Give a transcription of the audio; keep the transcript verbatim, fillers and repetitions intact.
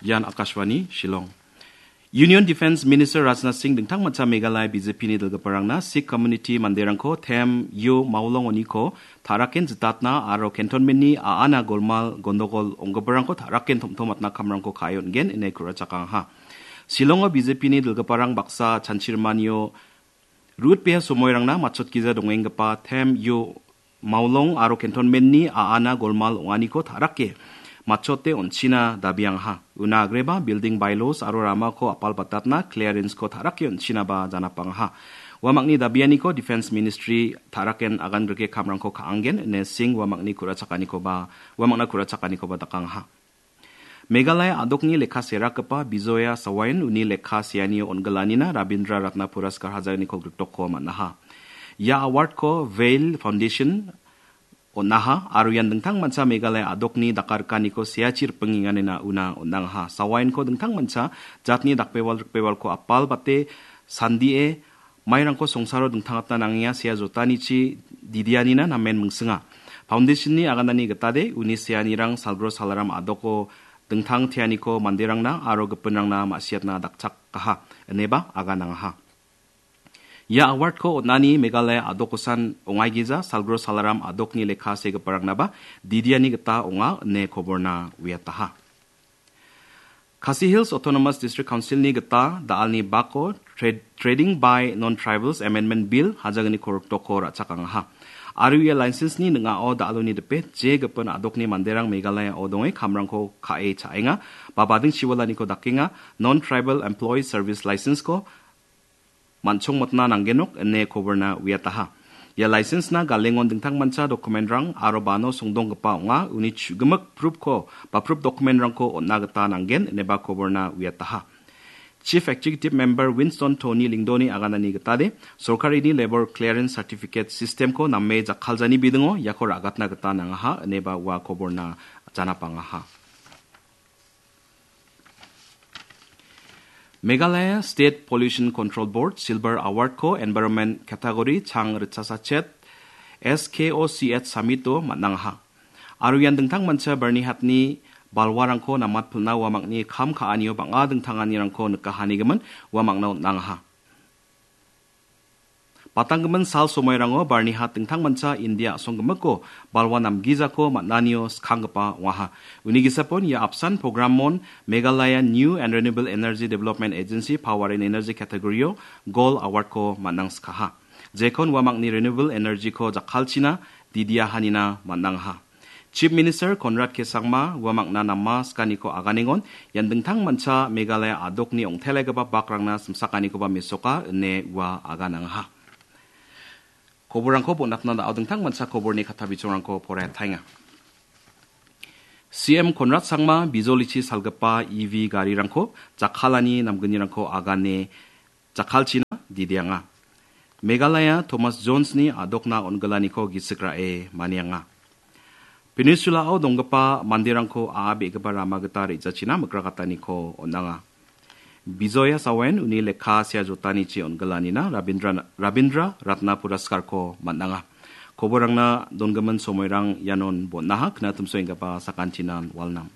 Ian Akashvani Shillong. Union Defence Minister Rajnath Singh dingtangmancha Meghalaya B J P-ni dilgiparangna Sikh community manderangko Them Yo Maolong oniko ta·raken jitatna aro cantonment-ni a·ana golmal gondogol ong·giparangko ta·raken tom·tomatna kamrangko ka·e on·gen ine ku·rachakangaha. Shillongo B J P-ni dilgiparang baksa chanchirmanio Rutbea somoirangna matchotgija dongenggipa Them Yo Maolong aro cantonment-ni a·ana golmal ong·aniko ta·rake matchote on·china dabiangaha. Una agreba building bylaws aro ramako apalbatatna clearance-ko ta·rake on·chinaba janapangaha. Uamangni dabianiko Defence Ministry ta·raken agangrike kamrangko ka·angen ine Singh uamangni ku·rachakanikoba, uamangna ku·rachakanikoba dakangaha. Meghalaya a·dokni lekka serakgipa Bijoya Sawain uni lekka seanio on·gilanina Rabindra Ratna Puraskar hajalgniko griktokko man·aha. Ia award-ko Vail Foundation on·aha aro ian dingtangmancha Meghalaya a·dokni dakarikaniko seachi ripingenganina una on·angaha. Sawainko dingtangmancha jatni dakbewal rikbewalko apalbate sandie mairangko songsaro dingtangatna nangenga sea jotanichi didianina namen mingsinga. Foundation-ni aganani gitade uni seanirang salgro salaram a·doko dingtang teaniko manderangna aro gipinrangna ma·siatna dakchakaha, ineba aganangaha. Ia award-ko on·ani Meghalaya a·dokosan ongaigija salgro salaram a·dokni lekka segiparangnaba didiani gita ong·a ine koborna uiataha. Khasi Hills Autonomous District Council-ni gita da·alni bako Tra-, Trading by Non-Tribals Amendment Bill hajalgniko griktokko ra·chakangaha. Aro ia license-ni ning·ao da·aloni dipe je gipin a·dokni manderang Meghalaya-o donge kamrangko ka·e cha·enga, ba bading chiwalaniko dakenga, Non-Tribal Employee Service License-ko man·chongmotna nanggenok ine koborna uiataha. Ia license-na galengon dingtangmancha document-rang aro bano songdonggipa ong·a, uni chu·gimik proof-ko ba proof document-rangko on·na gita nanggen ineba koborna uiataha. Chief Executive Member Winston Tony Lyngdoh-ni aganani gitade, sorkarini Labour Clearance Certificate System-ko name jakkaljani bidingo iako ra·gatna gita nangaha ineba ua koborna janapangaha. Meghalaya State Pollution Control Board Silver Award-ko Environment Category chang ritsasachet S K O C H Summit-o man·angaha. Aro ian dingtangmancha Byrnihatni balwarangko namatpilna uamangni kam ka·anio bang·a dingtanganirangko nikahanigimin uamangna on·angaha. Batanggimin sal somairango Byrnihat dingtangmancha India a·songgimiko balwa namgijako man·anio skanggipa ong·aha. Uni gisapon ia apsan programon Meghalaya New and Renewable Energy Development Agency Power and Energy category-o Gold Award-ko man·angskaha. Jekon uamangni renewable energy-ko jakkalchina didiahanina man·angaha. Chief Minister Conrad K Sangma uamangna nama skaniko aganengon, ian dingtangmancha Meghalaya a·dokni ong·telaigipa bakrangna simsakanikoba mesoka ine ua aganangaha. Koborrangko bonatna da·o dingtangmancha koborni katta bichongrangko poraiataenga. C M Conrad Sangma bijolichi salgipa E V garirangko jakkalani namgnirangko agane jakkalchina didianga. Meghalaya Thomas Jones-ni a·dokna on·gilaniko gisik ra·e manianga. Peninsula-o donggipa manderangko a·a be·gipa rama gita re·jachina mikrakataniko on·anga. Bijoya Sawen uni lekka sea jotanichi on·gilanina Rabindra, Rabindra Ratna Puraskarko man·anga. Koborangna dongimin somoirang ianon bon·aha, knatimsoenggipa sakantinan walnam.